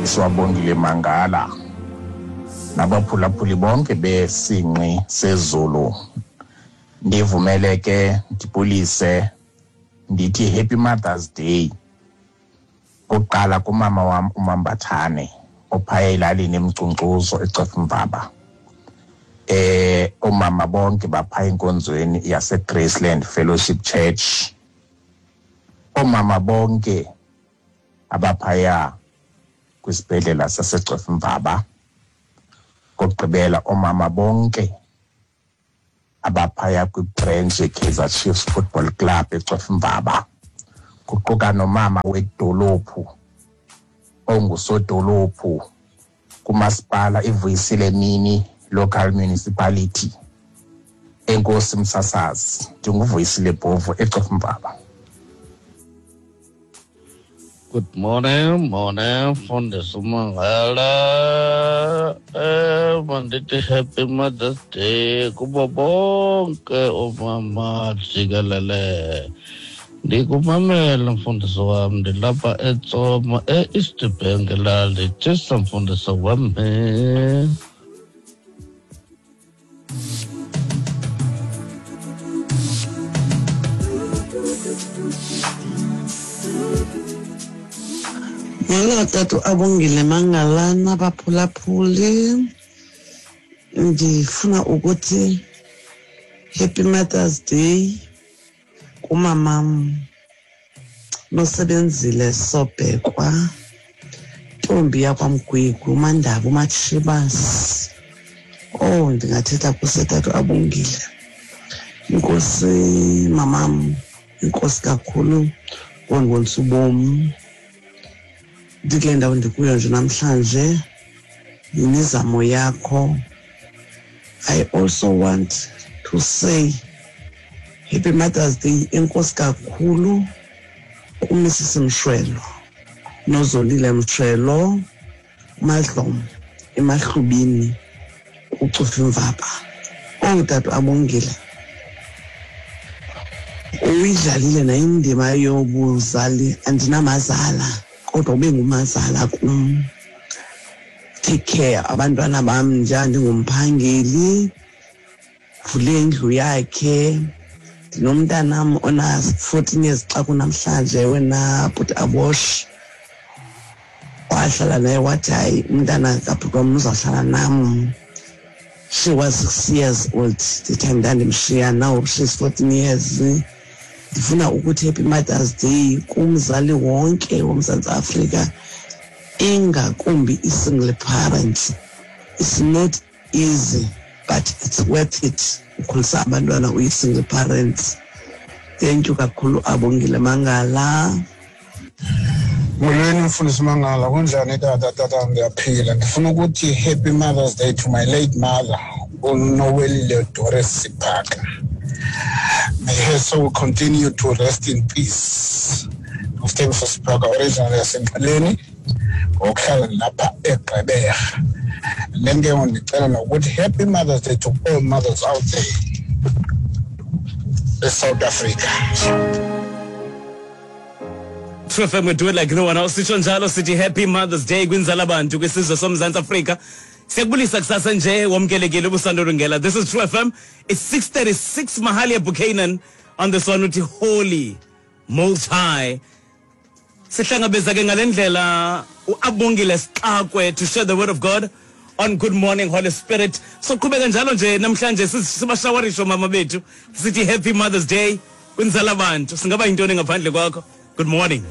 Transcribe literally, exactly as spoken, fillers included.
Mfundisi Wabongile Mangala nabaphulaphuli bonke besinqi sezulu. Ndivumele ke ndibulise ndithi Happy Mother's Day kuqala kumama wam uMambathane ophaya elalini eMcunkcuzo eCofimvaba. Eh omama bonke baphaya enkonzweni yase Graceland Fellowship Church. Omama bonke abaphaya kwisibhedlela saseCofimvaba. Kokugqibela omama bonke abaphaya kwi-branch yeKaizer Chiefs Football Club eCofimvaba, kuquka nomama wedolophu ongusodolophu kumasipala iVuyisile Mini Local Municipality. Enkosi msasazi, ndinguVuyisile Bhovu eCofimvaba. Good morning, morning, Mfundisi Mangala. Eh, mandithi Happy Mother's Day kubo bonke oomama jikelele. Ndikumamela mfundisi wam, ndilapha eTsomo e-East Bank lali. Tshisa mfundisi wam. Molo tata Abongile Mangala nabaphulaphuli, ndifuna ukuthi Happy Mother's Day kumamam Nosebenzile Sobhekwa, ntombi yakwaMgwigwi, uMandaba, uMatshibasi. Oh, ndingathetha kusetata Abongile. Inkosi mamam, inkosi kakhulu ngondibonisa ubomi. Ndikule ndawo ndikuyo nje namhlanje yimizamo yakho. I also want to say Happy Mother's Day enkosi kakhulu kuMissus Mshwelo, Nozolile Mshwelo, Madlomo emahlubini uCofimvaba. Oh tata Abongile, uyidlalile nayo indima yobuzali. Andinamazala kodwa ube ngumazala kum. Take care abantwana bam nje, ndingumphangeli, vule indlu yakhe. Ndinomntanam ona fourteen years xa kunamhlanje, wena bhuti Abosh wahlala naye wathi hayi umntana kabhuti wam uzawuhlala nam. She was six years old the time ndandimshiya, now she's fourteen years. Ndifuna ukuthi Happy Mother's Day kumzali wonke woMzantsi Afrika, ingakumbi i-single parents. It's not easy but it's worth it ukhulisa abantwana uyi-single parents. Thank you kakhulu Abongile Mangala. Molweni Mfundisi Mangala, kunjani tata? Tata ndiyaphila. Ndifuna ukuthi Happy Mother's Day to my late mother, uNowelile Doris Siphaka. May her soul continue to rest in peace. Usithembiso Siphaka originally yaseNqeleni, ngokuhlala lapha eGqeberha. Then ke ndicela nokuthi Happy Mother's Day to all mothers out there eSouth Africa. True F M, we do it like no one else. Sitsho njalo sithi Happy Mother's Day kwinzala bantu kwisizwe soMzantsi Afrika. Siyakubulisa kusasa nje, wamkelekile ubusandulungela. This is True F M. It's six thirty-six Mahalia Buchanan on this one uthi Holy Most High. Sihlangabeza ke ngalendlela uAbongile Sixakwe to share the word of God on Good Morning Holy Spirit. So qhubeka njalo nje namhlanje sibashawarisho mama bethu sithi Happy Mother's Day kwinzala bantu. Singaba yintoni ngaphandle kwakho? Good morning.